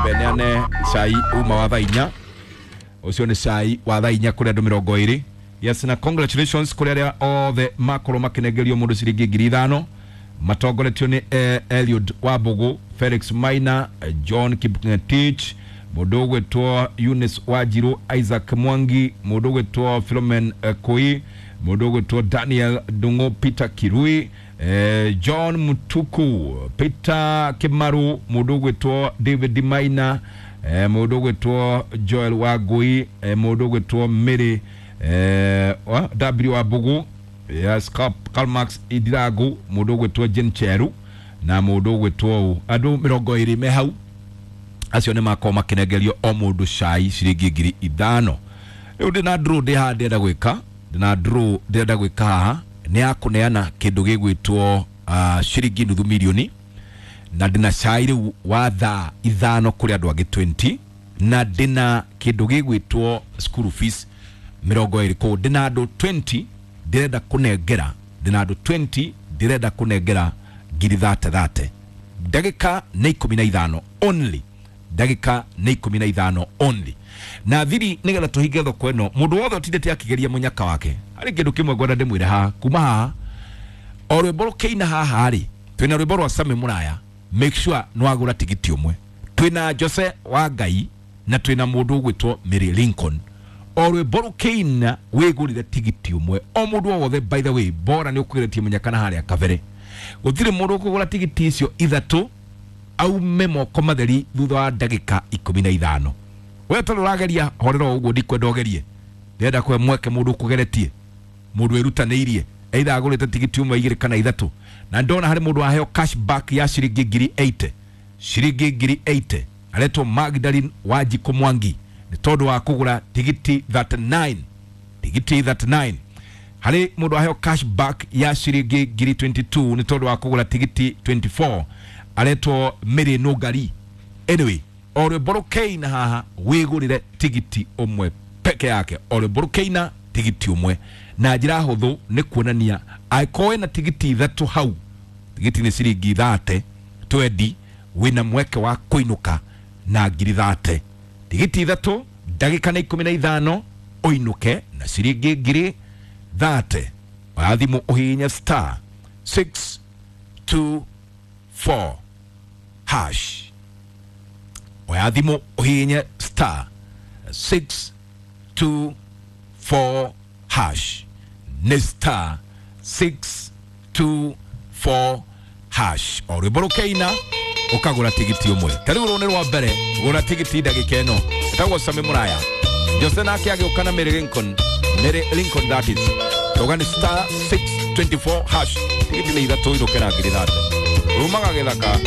Nyambe neane cai uma wa thaa 4. Ũcio nĩ cai wa thaa 4 kũrĩ andũ 20. Yes, na congratulations kũrĩ arĩa othe makorwo makĩnengerio mũndũ ciringi 5,000, matongoretio nĩ Eliud Wambugu, Felix Maina, John Kipngetich, mũndũ ũgwĩtwo Eunice Wanjiru, Isaac Mwangi, mũndũ ũgwĩtwo Philomen Koi, mũndũ ũgwĩtwo Daniel Ndung'u, Peter Kirui, John Mutuku, Peter Kimaru, mũndũ ũgwĩtwo David Maina, mũndũ ũgwĩtwo Joel Wangui, mũndũ ũgwĩtwo Mary W Wambugu, yes, Karl Marx Idirangu, mũndũ ũgwĩtwo Jane Cheru na mũndũ ũgwĩtwo andũ 20 me hau. Acio nĩ makorwo makĩnengerio o mũndũ cai ciringi 5,000. Rĩu ndĩna draw ndĩ haha ndĩrenda gwĩka, ndĩna draw ndĩrenda gwĩka haha nĩ ya kũneana kĩndũ gĩgwĩtwo ciringi nuthu milioni, na ndĩna cai rĩu wa thaa 5 kũrĩ andũ angĩ 20, na ndĩna kĩndũ gĩgwĩtwo school fees 20. Kũu ndĩna andũ 20 ndĩrenda kũnengera, ndĩna andũ 20 ndĩrenda kũnengera ngiri thate thate. Ndagĩka nĩ 15 only, ndagĩka nĩ 15 only, na thiri nĩgetha tũhinge thoko ĩno. Mũndũ wothe ũtindĩte akĩgeria mũnyaka wake, harĩ kĩndũ kĩmwe ngwenda ndĩmwĩre haha. Kuma haha o rwĩmbo rũkĩina haha rĩ, twĩna rwĩmbo rwa Sami Mũraya, make sure nĩwagũra tigiti ũmwe. Twĩna Jose wa Ngai na twĩna mũndũ ũgwĩtwo Mary Lincoln. O rwĩmbo rũkĩina wĩgũrĩre tigiti ũmwe, o mũndũ o wothe. By the way, bora nĩ ũkũgeretie mũnyaka na harĩa kabere, gũtirĩ mũndũ ũkũgũra tigiti icio 3 aume moko matheri thutha wa ndagĩka 15. We tondũ ũrageria horera o ũguo, ndikwenda ũgerie, ndĩrenda kũhe mweke mũndũ ũkũgeretie, mũndũ wĩrutanĩirie, either agũrĩte tigiti ũmwe, 2 kana 3. Na ndona harĩ mũndũ waheo cashback ya ciringi ngiri 80, ciringi ngiri 80, aretwo Magdalene Wanjikũ Mwangi, nĩ tondũ wa kũgũra tigiti 39, tigiti 39. Harĩ mũndũ waheo cashback ya ciringi ngiri 22 nĩ tondũ wa kũgũra tigiti 24, aretwo Mary Nũngari. Anyway, o rwĩmbo rũkĩina haha wĩgũrĩre tigiti ũmwe peke yake, o rwĩmbo rũkĩina tigiti ũmwe, na njĩra hũthũ nĩ kuonania angĩkorwo wĩna tigiti 3 hau, tigiti nĩ ciringi thate twendi, wĩna mweke wa kũinũka na ngiri thate. Tigiti 3, ndagĩka nĩ 15, ũinũke na ciringi ngiri thate. Oya thimũ ũhihinye star 624 hash. Oya thimũ ũhihinye star 624 hash, nĩ star 624 hash. O rwĩmbo rũkĩina ũkagũra tigiti ũmwe. Ta rĩu rũrũ nĩ rwa mbere, gũra tigiti ndagĩka ĩno. Ĩtagwo Sami Mũraya, Jose nake agĩũka na Mary Lincoln, Mary Lincoln that is. Tauga nĩ star 624 hash, tigiti nĩ 3, inũke na ngiri thate. Rumaga gĩthaka.